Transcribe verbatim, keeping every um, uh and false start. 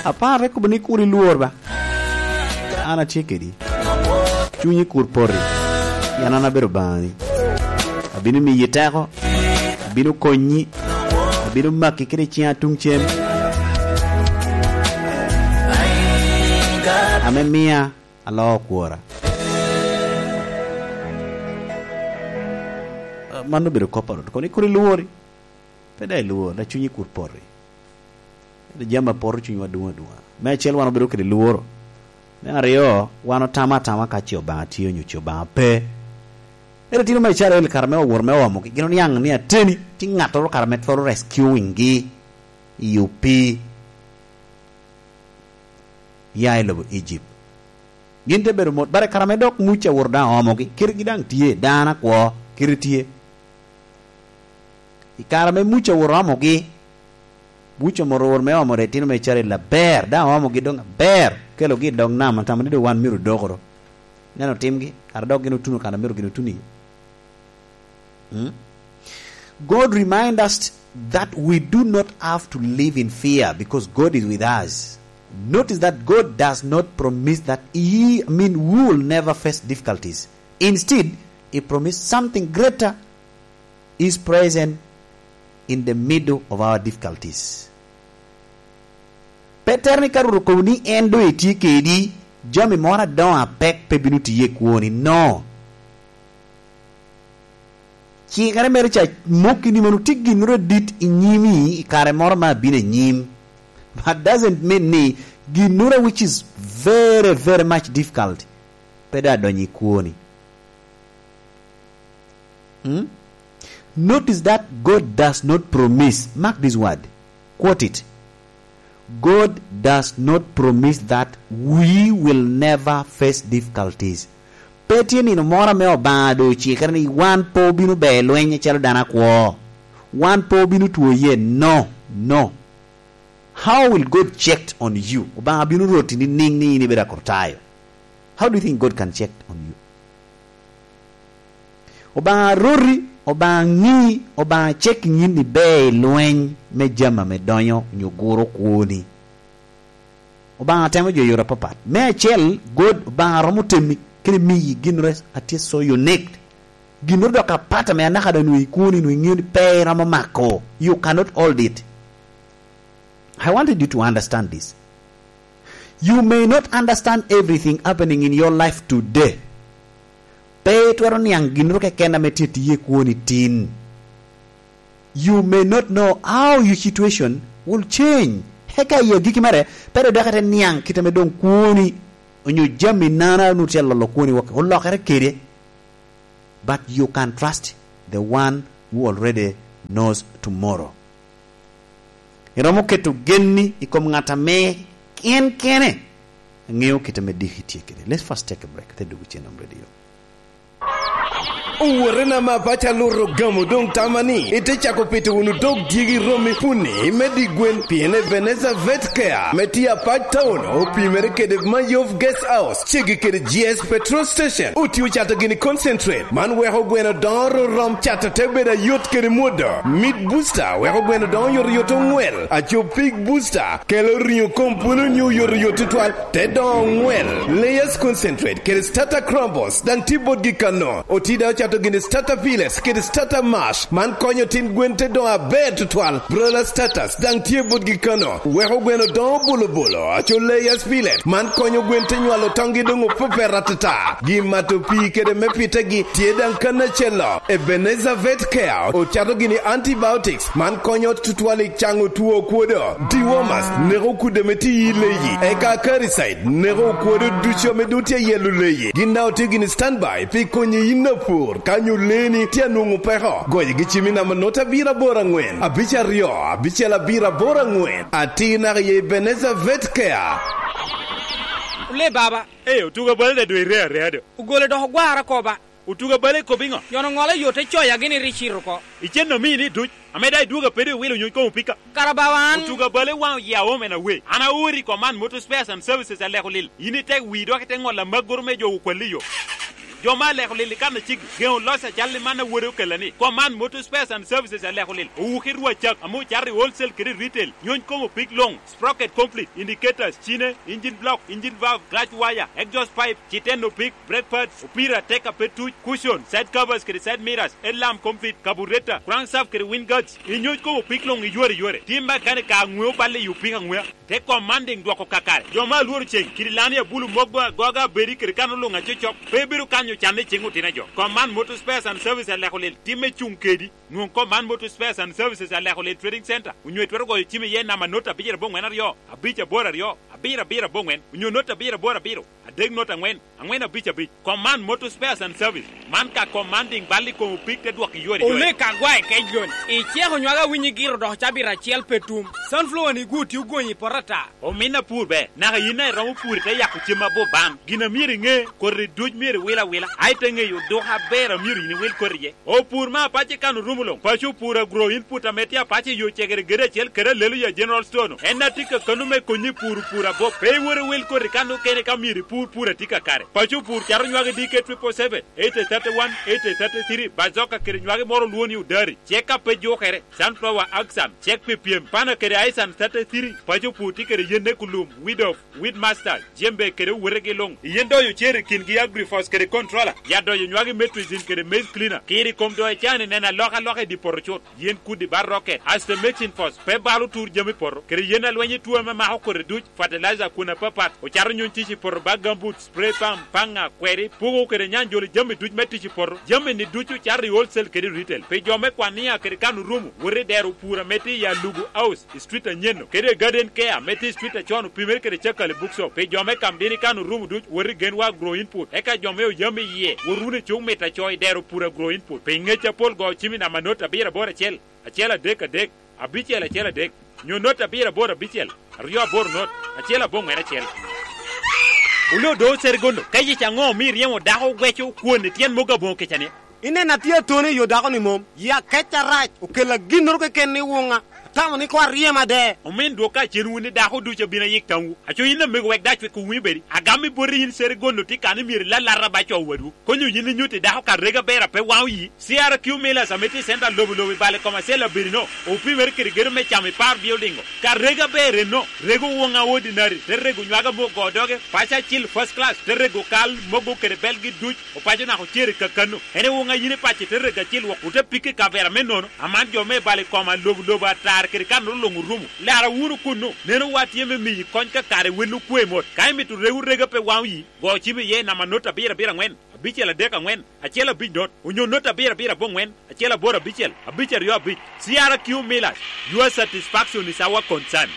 Apar te kobo ni, "Kur ilwor ba. An atye kedi. Cunyi kur poti. Pien an abedo Obaŋani. Abino miyi teko. Abino konyi. Abino maki kede ciŋa tuŋ cem. Ame mia aloo kwora." Mano obedo kop a Rwot. Kono ikut ilwori. Pe daŋ ilwor, dok cunyi kur poti. Ento jami a poto cunywa duŋ aduŋa. Me acel, wan obedo kede lworo. Me aryo, wan otamo atama ka ce Obaŋa tye onyo ce Obaŋa pe. Ento itino me Icrael, kare me owot me omogi, gin oniaŋ ni ateni, tye ŋattoro kare me twero rescuing-gi i opii ya i lobo Egypt. Gin te bedo mot, bare kare ame dok Muca owoto daŋ oomogi, kitegi daŋ tye, dano akwo, kite tye. I kare ame Muca owoto oomogi, Muca omoto woro me omo itino me Icrael aber, daŋ oomogi doŋ aber, okelogi i dog nam, atamo ni doŋ wan myero odokoro. Neno timgi, kara dok gin otuno kan a myero gin otuno iye. Mm? God remind us that we do not have to live in fear because God is with us. Notice that God does not promise that he, I mean, we will never face difficulties. Instead, he promised something greater, his presence in the middle of our difficulties. Pe tere ni ka Rwot okobo ni en doŋ etye kedi, jami moro adoŋo apek pe bino tiye i kwoni. No. Cikere mere ca mokki ni mono tye ginnoro adit i nyimi i kare moro ma abino anyim. But doesn't mean ni ginnoro which is very, very much difficult pe doŋ adonyo i kwoni. Hmm? Notice that God does not promise. Mark this word. Quote it. God does not promise that we will never face difficulties. Pe tye nino moro ame Obaŋa doŋ ocikere ni wan pe obino ber lweny acalo dano akwo. Wan pe obino two ye. No, no. How will God check on you? Obaŋa bino roti ni niŋ ni in ibedo Akritayo. How do you think God can check on you? Obaŋa roti, Obaŋa ŋi, Obaŋa check in ni iber i lweny me jami ame donyo onyo guro kwoni. Obaŋa temo jo i yore apapat. Me acel, God, Obaŋa romo temi kede miyi ginnoro a tye so unique. Ginnoro dok apat ame anaka doŋ nwoŋo i kwoni, nwoŋo iŋeo ni pe iromo mako. You cannot hold it. I wanted you to understand this. You may not understand everything happening in your life today. Pe itwero niaŋ ginnoro keken ame tye tiye i kwoni tin. You may not know how your situation will change. Eka i agikki mere, pe dok dok ite niaŋ kit ame doŋ kwoni, onyo jami nana onwoŋo tye alolo kwoni wok, olokere kede. But you can trust the one who already knows tomorrow. Iromo keto genni i kom ŋat ame en kene ŋeo kit ame diki tye kede. Let's first take a break. Te dwogo cen om radio. Owotena ma paco aluto gamo doŋ tama ni ite cako pito wunu dog dyegi romi puni me di gwen, pien Ebenezer Vet Care me tye Apac Town opimere kede Mayov Guest House, ceggi kede G S Petrol Station. Otye ocato gini concentrate, man weko gweno doŋo ororom cato te bedo ayot kede mwodo. Meat Booster weko gweno doŋo oyotoyot oŋwel. Aco Pig Booster kelo riŋo kom pwolo onyo oyotoyot tutwal, te doŋo oŋwel. Layers Concentrate kede Starter Crumbles daŋ tye botgi kano. Otye daŋ ocato gini Starter Pellets kede Starter Mash, man konyo tin gwen te doŋo aber tutwal. Broiler Starters daŋ tye botgi kano, weko gweno doŋo bulubulu. Aco Layers Pellet, man konyo gwen te nywalo toŋgi doŋ opepet atata. Gin mato pii kede me pitegi tye daŋ kan acel-lo. Ebenezer Vet Care ocato gini antibiotics, man konyo tutwal i caŋo two okwodo. Dewormers neko kudde ame tye i leyi, eka Acaricide neko okwodo ducu ame doŋ tye i yelo leyi. Gin daŋ otye gini standby pi konyi yin apur ka nyo leeni tye anwoŋo peko. Goyogi cim i namba nut abiro aboro aŋwen, abic aryo, abicel abiro aboro aŋwen. Atir naka i Ebenezer Vet Care. Ole baba. Ee, otugo bal da dwe ire area do. Ogole dok ogwara oko ba. Otugo bal i kop iŋo? Yon oŋolo yo te coya gini ri cito oko. Icen omini duc, ame daŋ idwogo apede iwilo nyuc koŋ opika. Kara bawa an. Otugo bal i waŋ oya omen awe. An aori i kom man Motor Spares and Services aleko lil. In itek wii dok ite ŋolo amaggoro me jo okwalli yo. Jo me aleko lil i kan aciki, geŋo loc acal i man a wode okella ni, Command Motor Spares and Services aleko lil, owuki rwacak ame ocato i wholesale kede i retail, nyony kom opik luŋ, sprocket complete, indicators, cine, engine block, engine valve, clutch wire, exhaust pipe, citen opik, brake pads, opira, teka pe tuc, cushion, side covers kede side mirrors, headlamp complete, carburetor, crankshaft kede wing guards, inyony kom opik luŋ i yore yore. Tim makanika aŋweo balle i opik aŋwea. Te Commanding dwoko kakare. Jo me alworo ceŋ, kidi lani abulu moggo agoga abedi kede kan oluŋ acocok, pe bedo kanyo canne i ceŋ otino a jo. Command Motor Spares and Service aleko lil timme cuŋ kedi. Nwoŋ Command Motor Spares and Services aleko lil Trading Center, onyo itwero goyo cim iye namba not abicel aboŋwen aryo, abic aboro aryo, abiro abiro aboŋwen, onyo not abiro aboro abiro, adek not aŋwen, aŋwen abic abic. Command Motor Spares and Service. Man ka Commanding bal i kom opik te dwok i yore yore. Olek agwa i kec lon. Iceko nywag awinyi giro dok cabit acel pe tum. Sunflower ni gwo tye ogonyi i poto ata. Omin apur ber, naka yin a iromo pur ite yako cem abop ban. Gin a myero iŋe, koti duc myero iwil awila. A ite ŋeyo duk aber a myero yin iwil koti iye. Opur me apac i kan orumo luŋ. Paco opur agro input ame tye apac i yo cegere gede acel kede alelo ya General Store-nu. En a tye kakano me konyi pur opur abop. Pe iwot iwil koti kan okene ka myero ipur pur a tye kakare. Paco opur cato nywagi D K triple seven, eighty thirty-one, eighty thirty-three, Bazoka kede nywagi moro olwo ni Odari. Cek a pe jukere, Sunflower Axan, cek pi pyem, Pana kede Aisan thirty-three, Paco opur tye kede yenne kulum, Weed of, Weed Master, Jembe kede owotegi luŋ. Yen doyo cer i kingi Agrifos kede Controller, ya doyo nywagi Metrizin kede Maize Cleaner. Kiri kom doyo can i neno alokaloka i dye poto cut. Yen kudi bar rocket, Aster Mixing Force, pe balo tur jami poto, kede yen alweny i tuo ame mako koti duc, fertilizer kun apapat, ocato nyuny tic i poto ba gambut, spray pump, paŋa, kweri, puko kede nyanjolo jami duc me tic i poto. Jami-ni ducu cato i wholesale kede retail. Pi jo me Kwania kede kan orumo, wot i dero pur ame tye i Alugu House, i street anyen-nu, kede i Garden Care ame tye i street acon opimere kede Cakali Bookshop. Pi jo me Kamdini kan orumo duc, wot i Genwa Agro Input. Eka jo me Oyam iye, wot wunu i cuk mito aco i dero pur Agro Input. Pi ngec apol go cim i namba not abiro aboro acel, acel adek adek, abicel acel adek, nyo not abiro aboro abicel, aryo aboro not, acel aboŋwen acel. Oloo do Serigondo, ka yic aŋo omio iryemo dako gweco kwon i tyen mogo aboŋo kica-ni? Ineno atye atoni i yo dako-ni mom, yi akec arac, okella ginnoro keken i wuŋa, atamo ni koŋ aryem ade. Omin dwok kacen wun ni dako ducu abino ayik tamwu. Aco yin amego wek dac wek owinyo bedi. Agam i boti yin Serigondo tye kan ni myero ilalata ba co wadwu. Konyo yin inyutti dako ka rega ber a pe waŋo yi. C R Q Millers ame tye i center lobo lobo i bale kom acel abedi-no, opimere kede gedo me camo i par building-o. Ka rega ber enno, rego woŋa ordinary, te rego nywag ame ogo doge, paco acil first class, te rego kal, mogo kede belgi duc, opaco naka ocer i kakano. En i woŋa yin i paco te rego acil wok, ote pike i kavera me nono, aman jo me i bale kom a lobo lobo atar kede kanoro luŋ orumo. Lara wunu kunnu, neno wa tye me miyi kony ka kare wel okwe mot. Ka imito rego rega pe waŋo yi, go cim iye i namba not abiro abiro aŋwen, abicel adek aŋwen, acel abic not, onyo not abiro abiro aboŋwen, acel aboro abicel, abic aryo abic. C R Q Millers, your satisfaction is our concern.